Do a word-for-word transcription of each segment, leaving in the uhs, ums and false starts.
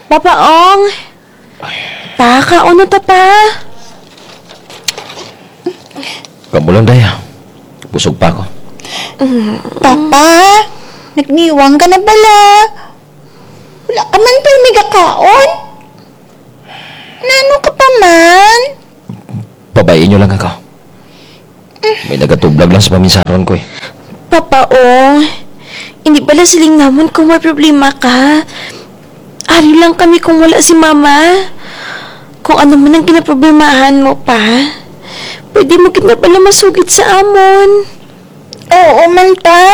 Papa Ong! Pa, kaon na ta, Pa. Kamo lang, Day, ah. Busog pa ako. Papa, nagniwang ka na bala. Wala ka man pirmi gakaon. Nano ka pa man? Pabay-i n'yo lang ako. May nagatublag lang sa paminsaron ko, eh. Papa Ong, indi bala siling namun kon may problema ka. Ari lang kami kon wala si Mama. Kon ano man ang ginaproblemahan mo, Pa, pwede mo gid na bala masugid sa amun. Oo man, Pa.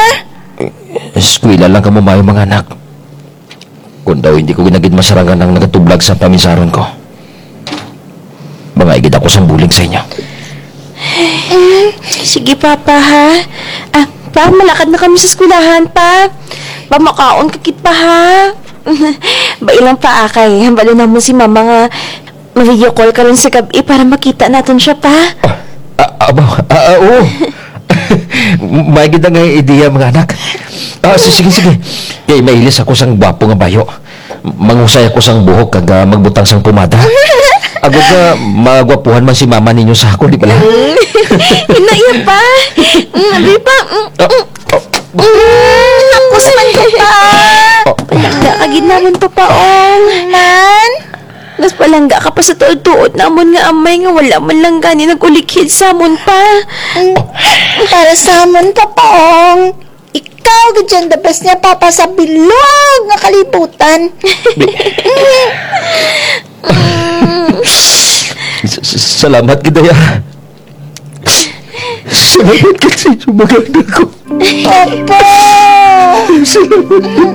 Eskwela lang kamo maayo, mga anak. Kon daw indi ko gid na gid masarangan ang nagatublag sa paminsaron ko, mangayo gid ako sang bulig sa inyo. Mm, sige, Papa, ha? Ah, Pa, malakad na kami sa eskwelahan, Pa. Pa, makaon ka gid, Pa, ha? Bai lang, Pa, ah, kay hambal namun si Mama nga ma-video call karon sa gab-i para makita natun siya, Pa. Ah, ah, aba, ah, ah, oo. Maayo gid nga ideya, mga anak. Ah, si-, sige, sige. Kay mailis ako sang gwapo nga bayo. Manghusay ako sang buhok kag, ah, magbutang sang pomada. Agod nga magwapuhan man si Mama ninyo sa akon, di bala? Mm. Hinaya, Pa. Mm, abi, Pa. Mm, mm. Ah, ah. Mm, ako sa man ka, Pa. Ah. Palangga ka gid namun, Papa Ong. Man? Mas palangga ka pa sa tuod-tuod namun nga amay nga wala man lang gani nag-ulikhid sa amun, Pa. Mm, para sa amun, Papa Ong. Ikaw gid dyan the best nga papa sa bilog nga kalibutan. Sa-, sa-, salamat gid, Day, ah. Salamat gid sa inyo, mga anak ko. Papa! Salamat gid.